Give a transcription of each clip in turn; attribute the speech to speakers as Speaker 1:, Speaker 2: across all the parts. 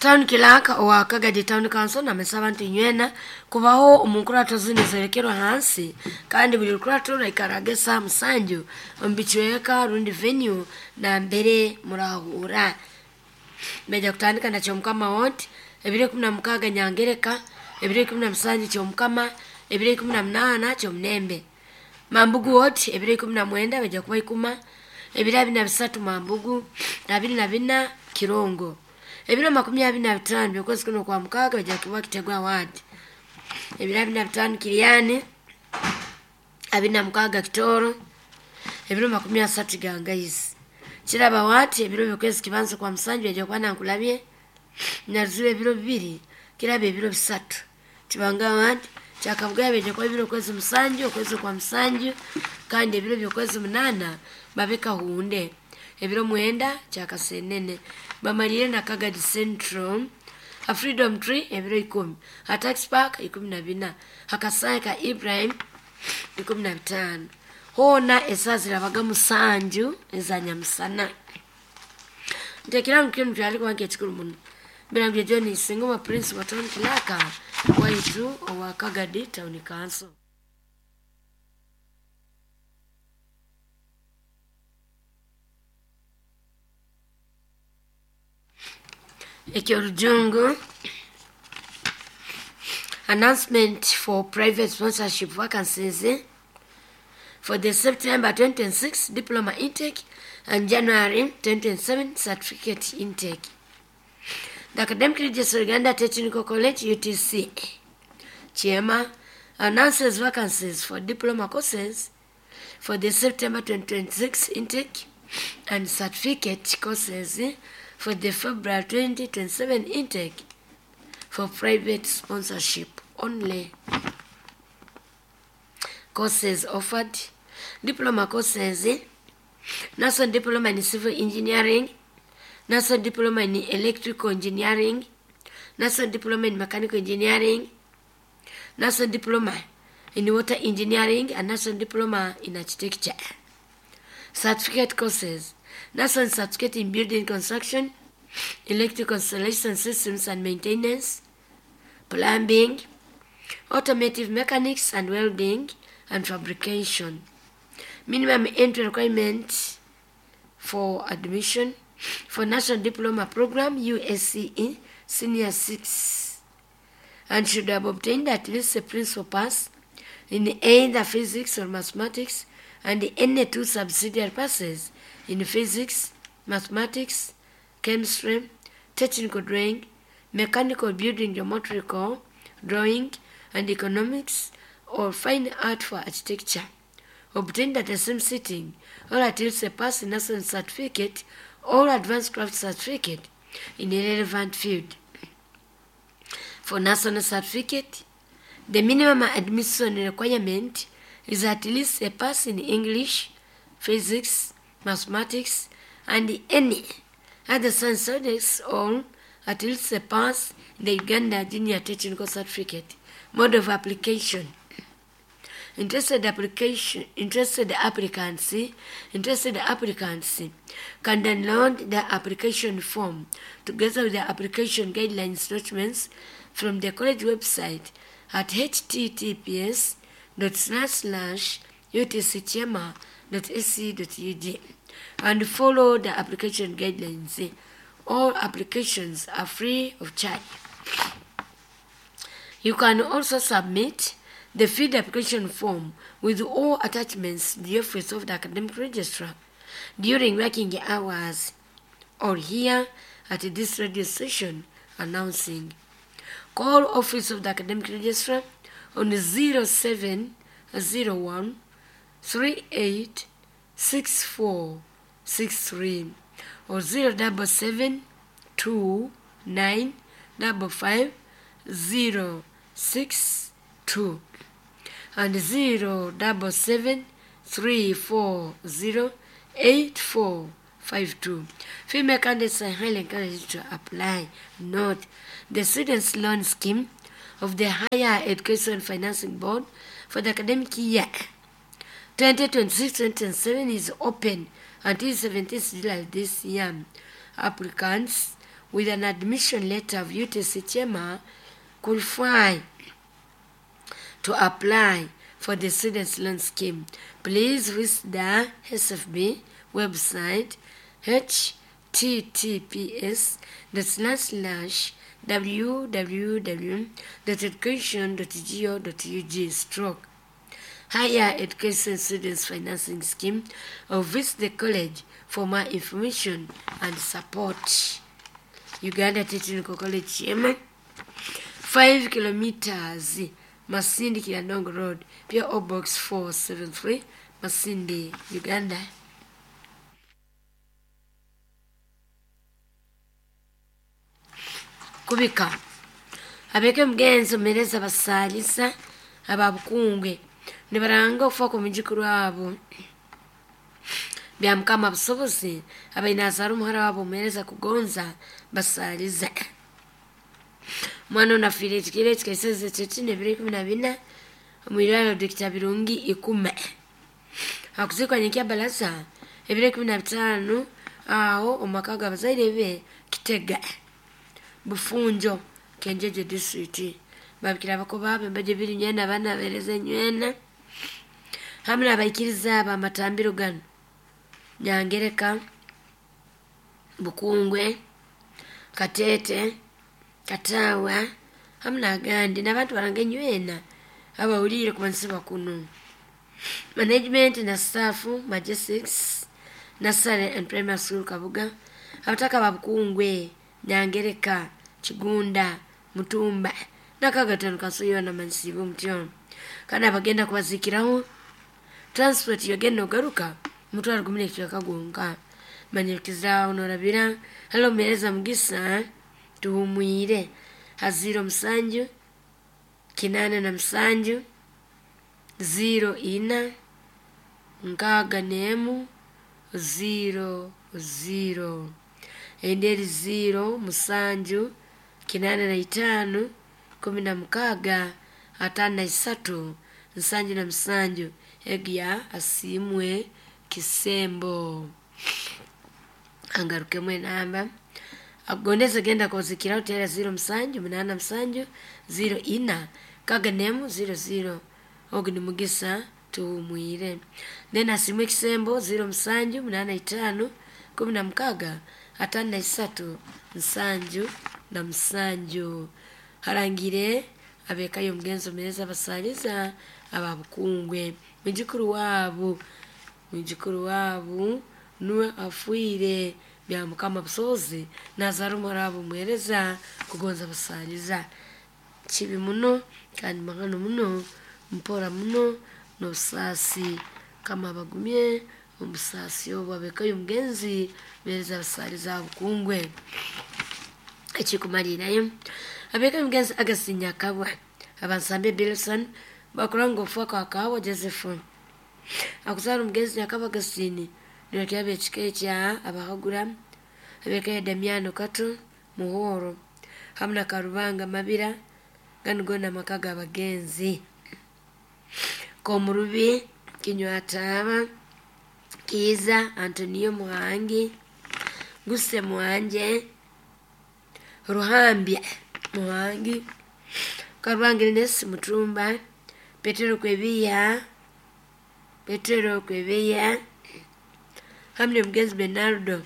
Speaker 1: Town Clerk owa Kagadi Town Council namesa abantu inywena kubaho omu nkurato zinu zerekerwa hansi, kandi buli rukurato ruraikaraga esaaha 7 omu bicweka rundi venue nambere murahura. Baija kutandika na Kyomukama Ward ebiro 16 Nyangereka, ebiro 17 Kyomukama, ebiro 18 Kyomunembe. Mambugu Ward ebiro 19 baija kuba ikuma, ebiro 23 Mambugu, 24 Kirongo. Ebiro 25 by'okwezi kuno kwa mukaaga baija kuba Kitegwa Ward. Ebiro 25 Kiryani, 26 Kitoro, ebiro 30 Gangaizi. Kiraba Ward ebiro by'okwezi kibanza kwa musanju baija kuba Nankulabye, Naruziba ebiro 2, Kiraba ebiro 3. Kibanga Ward, Kyakabugaya baija kuba ebiro okwezi 7, okwezi kwa musanju, kandi ebiro by'okwezi 8 babe Kahunde. Ebiro 9 Kyakasenene. Bamalire na Kagadi Central, ha Freedom Tree ebiro 10, ha Tax Park 14, ha Kasai ka Ibrahim 15. Hoona esaaha zirabaga 7 eza nyamusana. Ntekera ngu kinu kyali kuba nk'ekikuru muno. Mbirangire John Singoma Prince wa Town Clerk waitu owa Kagadi Town Council. Ekyorujungu announcement for private sponsorship vacancies for the September 2026 diploma intake and January 2027 certificate intake. The Academic Registrar Uganda Technical College UTC Kyema announces vacancies for diploma courses for the September 2026 intake and certificate courses for the February 2027 intake for private sponsorship only. Courses offered: diploma courses, National Diploma in Civil Engineering, National Diploma in Electrical Engineering, National Diploma in Mechanical Engineering, National Diploma in Water Engineering, and National Diploma in Architecture. Certificate courses: National Certificate in Building Construction, Electrical Installation Systems and Maintenance, Plumbing, Automotive Mechanics and Welding and Fabrication. Minimum entry requirement for admission for National Diploma Program USCE Senior 6 and should have obtained at least a principal pass in either physics or mathematics and any two subsidiary passes in physics, mathematics, chemistry, technical drawing, mechanical building geometrical drawing, and economics or fine art for architecture, obtained at the same sitting, or at least a pass in national certificate or advanced craft certificate in a relevant field. For national certificate, the minimum admission requirement is at least a pass in English, physics, mathematics, and any other science subjects, or at least a pass in the Uganda Junior Technical Certificate. Mode of application. Interested applicants can download the application form together with the application guidelines documents from the college website at https://utckyema.ac.ug and follow the application guidelines. All applications are free of charge. You can also submit the filled application form with all attachments to the office of the academic registrar during working hours or here at this radio station announcing. Call office of the academic registrar on 0701 38 6463 or 077 29 55 062 and 077 340 8452. Female candidates are highly encouraged to apply. Note, the Students' Loan Scheme of the Higher Education Financing Board for the academic year 2026-2027 is open until 17th July this year. Applicants with an admission letter of UTC Kyema qualify to apply for the Students Loan Scheme. Please visit the SFB website https://www.education.go.ug/ Higher Education Students Financing Scheme, or visit the college for more information and support. Uganda Technical College Kyema, 5 kilometers, Masindi Kiandongo Road, PO Box 473, Masindi, Uganda. Kubika abeke mugenzi omereza basalisa ababukungwe nibaranga okufa ku mujukuru wabo bya mukama busobozi abainazara omuhara wabo omuhereza kugonza basaliza omwana ono afiire ekikiro ekikaiseze kyekina ebiro 14 omwirwariro Dr. Birungi Ikume. Akuzikwa nyenkya balaza ebiro 15 aho omumaka g'abazaire be Kitega Bufunjo Kenjeje district. Babikira abako baabo embajo ebiri nywena abaana abahereza nywena hamwe n'abaikiriza abo amatambiro gano Nyangereka, Bukungwe, Katete, Katawa hamwe n'agandi n'abantu baranga enywena abahuriire kumanyisibwa kunu. Management na staff Majestics Nursery and Primary School Kabuga, abataka ba Bukungwe, Nyangereka, Kigunda, Mutumba n'akagatano kasoyoona manyisibwe mutyo. Kandi abagenda kubazikiraho transport yogenda ogaruka mutwaro gumwe n'ekicweka gwonka. Manyikiriza onorabira hali omuheereza Mugisa Tuhumwire ha 07 87 04 61 00 endi eri 0 7 85 16 53 77 egya asiimwe Kisembo. Angarukemu enamba akugondeze genda kubazikiraho tera 07 87 04 61 00 ogu ni Mugisa Tuhumwire. Then asiimwe Kisembo 07 85 16 53 77 harangire abekayo omugenzi omuhereza abasaliza ababukungwe mwijukuru waabo nuwe afiire bya mukama busobozi nazara omuhara waabo omuhereza kugonza basaliza. Kibi muno kandi mahano muno mpora muno n'obusaasi mukama abagumye omu busaasi obu abekayo omugenzi omuhereza abasaliza ababukungwe. Ekikumaliirayo abekayo omugenzi Augustine Nyakabwa abansambe Bilson bakuranga okufa kwa Kahawa Joseph. Akuzaara omugenzi Nyakabwa Augustine nibakyaba ekika ekya Abahagura abekayo Damiano Kato Muhoro hamwe na Karubanga Mabira ganu goona amaka g'abagenzi. Komurubi Kinywataaba Kiiza Antonio Muhangi Guse Muhanje Ruhambya Muhangi Karubanga Ernest Mutumba Petero Kwebiya hamwe n'omugenzi Bernardo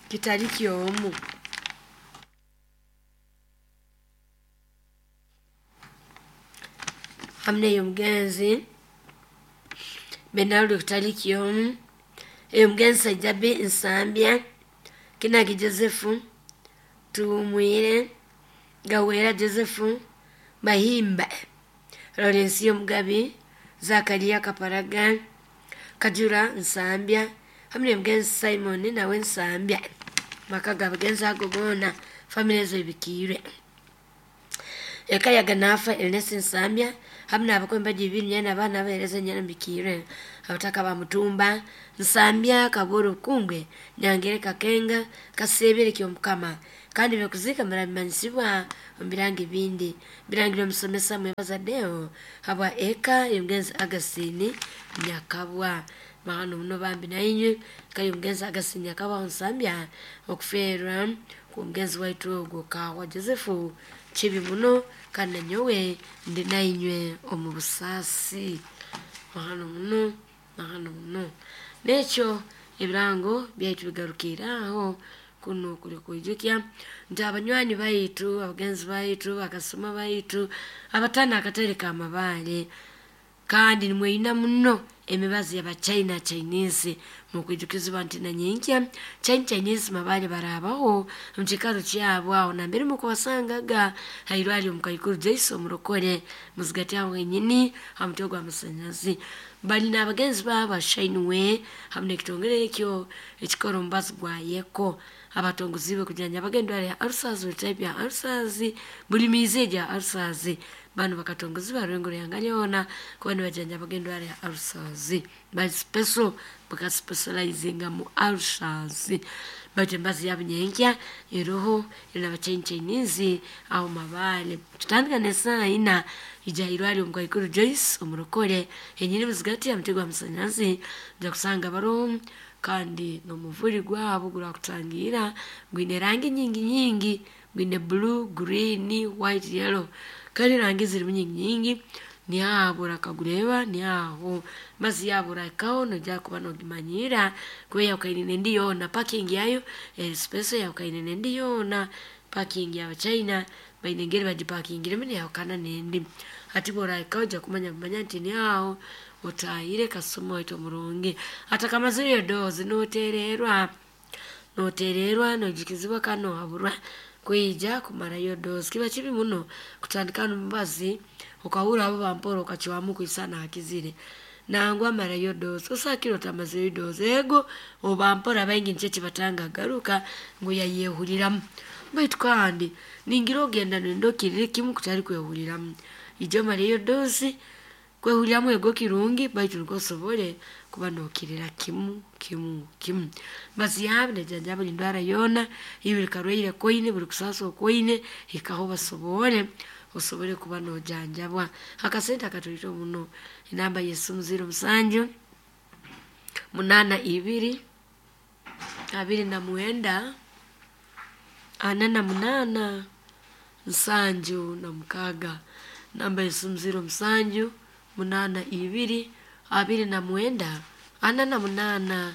Speaker 1: Kitariki omu. Hamwe n'omugenzi Bernardo Kitariki omu, omugenzi Sajabi Nsambya Kinagi Joseph Tuhumwire Gawera Joseph Bahimba Lawrence Omugabi Zakaria Kaparaga Kajura Nsambya hamwe n'omugenzi Simon nawe Nsambya. Maka g'abagenzi ago goona famire ezo ebikiirwe. Eka ya Ganafa Ernest Nsambya hamwe n'abako embajo ibiri nyena abaana abahereza nyena mbikiirwe. Abataka ba Mutumba Nsambya Kabworo Bukungwe Nyangereka Kakenga Kasebere Kyomukama kandi byokuzika murabimanyisibwa omu birango ebindi. Birangire omusomesa Mwebaza Deo habwa eka y'omugenzi Augustine Nyakabwa. Mahano muno bambi nainywe kali omugenzi Agasinya Kabaho Nsambya okufeerwa kw'omugenzi waitu ogwo Kawa Joseph kibi muno, kandi nanyowe ndi nainywe omu busaasi. Mahano muno, mahano muno. N'ekyo ebirango byaitu bigarukiire aho. Kuno kuli kwijukya nti abanywani baitu, abagenzi baitu, bakasoma baitu abatana akatale ka Mabaale, kandi nimweyuna muno emibazi yaba China Chinese, mukwijukizibwa nti nanyenkya China Chinese Mabaale barabaho omu kiikaro kyabo aho nambere mukubasangaga hairwali omukaikuru Joyce omurokore muzigati aho wenyini ha mutwe gw'amasanyalazi. Bali n'abagenzi baabo ba Shineway hamu n'ekitongole ekyo ekikora omubazi gwa Yeko abatongoziibwe kujanjabaga endwara ya ulcers, buli type ya ulcers, buli miizi egya ulcers. Banu bakatongozibwa Rwengo Ruhanga lyona kuba nibajanjabaga endwara ya ulcers. Bali special, bakaspecializinga mu ulcers. Baitu embazi yabo nyenkya eroho eri China Chinese aho Mabaale. Tutandika n'esaaha ina ija irwali omukaikuru Joyce omurokore henyini muzigati ya mutwe gw'amasanyalazi nja kusanga baroho, kandi n'omuvuri gwabo gurakutangira gwine rangi nyingi nyingi, gwine blue, green, white, yellow, kandi rangi zirimu nyingi nyingi. Niaho orakagureba niaho mazi yabo orahikaho noija kuba nogimanyira kuba eyahukane n'endi yoona. Parking yayo eri special eyahukane n'endi yoona. Parking y'Abachina baine engeri bagipakingiremu neyahukana n'endi. Hati bw'orahikaho ojja kumanya kumanya nti niaho otahire kasoma waitu omurungi. Atakamazireyo doozi notererwa, notererwa noijukizibwa kandi nohaburwa kwija kumarayo doozi. Kiba kibi muno kutandika n'omubazi okahurra abo bampora okacwamu kwisana hakizire nangwa marayo doozi, osakire otamazireyo doozi. Ego obampora baingi nikyo kibatanga kugaruka ngu yayehuriramu, baitu kandi ningira ogenda noyenda okirire kimu kutali kwehuriramu. Ija omareyo doozi, kwehuriramu ego kirungi baitu nikwo osobole kuba nokirira kimu kimu kimu. Bazi yabo nejanjaba buli ndwara yoona, buli karwaire koine, buli kusaasa okwoine, hikaho basobole osobole kuba nojanjabwa. Akasente akatoito muno. Enamba y'esimu 07 82 29 48 76. Namba y'esimu 07 82 29 48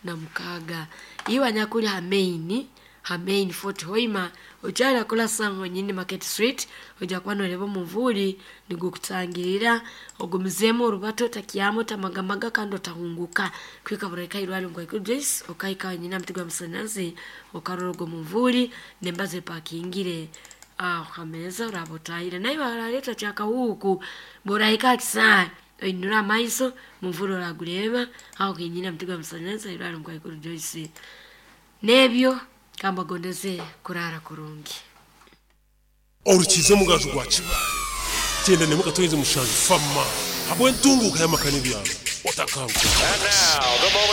Speaker 1: 76. Iwe anyakuli ha main, ha main Fort Hoima okyali akola sango nyini Market Street, ojja kuba noreba omuvuri nigukutangirira, ogumizeemu orubato otakyama otamagamaga kandi otahunguka kwika burahika irwali omukaikuru Joyce okahika wenyini aha muti gw'amasanyalazi okarora ogwo muvuri n'embazi epakingire aho hameeza oraba otahire. Naiwe araleeta kyakahuuku bw'orahika aha kisaayi oinure amaiso muvuri oragureba aho kenyini aha muti gw'amasanyalazi irwali omukaikuru Joyce. N'ebyo kambagondeze kurara kurungi.
Speaker 2: Orukiza omugaju gwa Kibaale 91.7 fama habw'entunguka y'amaka n'ebyaro otakanguka.
Speaker 3: And now, the moment